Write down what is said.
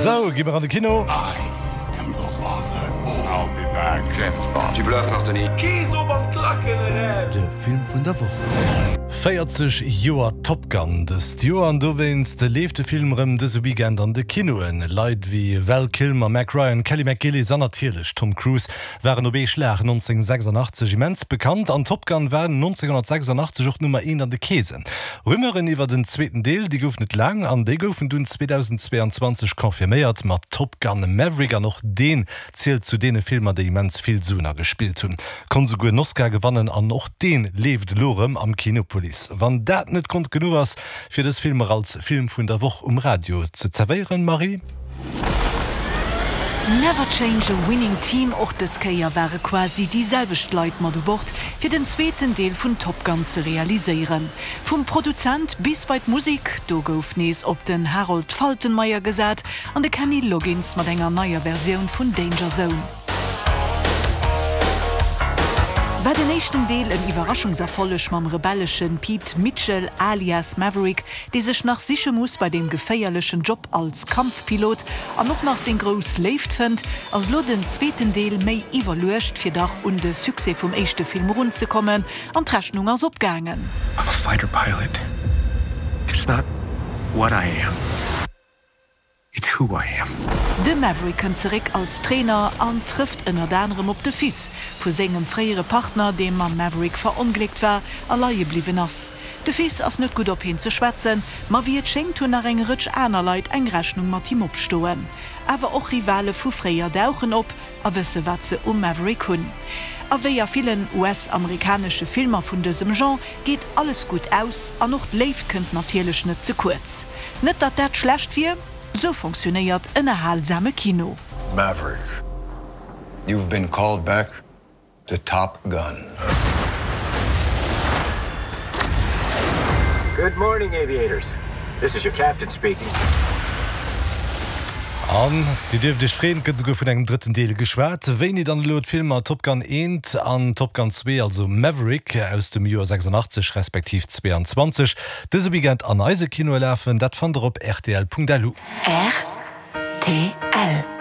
Sou, gi mer an de Kino. De Film vun der Woch. 40 Joer Top Gun dëst Joer an dowéinst leeft de Film erëm dëse Weekend an de Kinoen. Leit wéi Val Kilmer, Meg Ryan, Kelly McGillis an natierlech Tom Cruise waren op ee Schlag 1986 immens bekannt an Top Gun war 1986 och Nummer eent an de Keesen. Rumeuren iwwert en zweeten Deel, déi goufen et laang an déi goufen dunn 2022 confirméiert mat Top Gun, Maverick an och deen zielt zu deene Filmer, déi immens vill Suen agespillt hunn, konnt esouguer en Oscar gewannen an och deen leeft elo erëm am Kinepolis. Wann dat net Grond genuch ass, fir dës Filmer als Film vun der Woch um Radio ze zerwéieren, Marie? Never change a winning team, och dës Kéier ware quasi déi selwecht Leit mat u Bord, fir den zweeten Deel vun Top Gun ze realiséieren. Vum Produzent bis bei d'Musek, do gouf nees op den Harold Faltermeyer gesat an de Kenny Loggins mat enger neier Versioun vun Danger Zone. War den éischten Deel en Iwwerraschungserfolleg mam rebellesche Pete Mitchell alias Maverick, dee sech nach siche muss bei deem geféierlechen Job als Kampfpilot an och nach seng grouss Léift fënnt, ass elo den zweeten Deel méi iwwerluecht, fir dach un de Succès vum éischte Film erunzekommen an d'Rechnung ass opgaangen. I'm a fighter pilot. It's not what I am. It's who I am. De Maverick kënnt zeréck als Trainer an trëfft ënnert anerem op de Fils vu sengem fréiere Partner, dee mam Maverick verongléckt war a leie bliwwen ass. De Fils ass net gutt op hien ze schwätzen, ma wéi et schéngt hunn nach eng Rëtsch aner Leit eng Rechnung mat him opstoen. Awer och Rivale vu fréier dauchen op a wësse wat se um Maverick hunn. A wéi a villen US-amerikanesche Filmer vun dësem Genre geet alles gutt aus an och d'Léift kënnt natierlech net ze kuerz. Net datt dat schlecht wier, sou fonctionnéiert ënnerhalsame Kino. Maverick, you've been called back to Top Gun. Good morning, aviators. This is your captain speaking. An Dir dierft Iech freeën, et gëtt esouguer vun engem drëtten Deel geschwat. Wéini dann elo d'Filmer Top Gun 1 an Top Gun 2, also Maverick aus dem Joer 86 respektiv 22, dëse Weekend an eise Kinoe lafen, dat fannt der op rtl.lu. Rtl.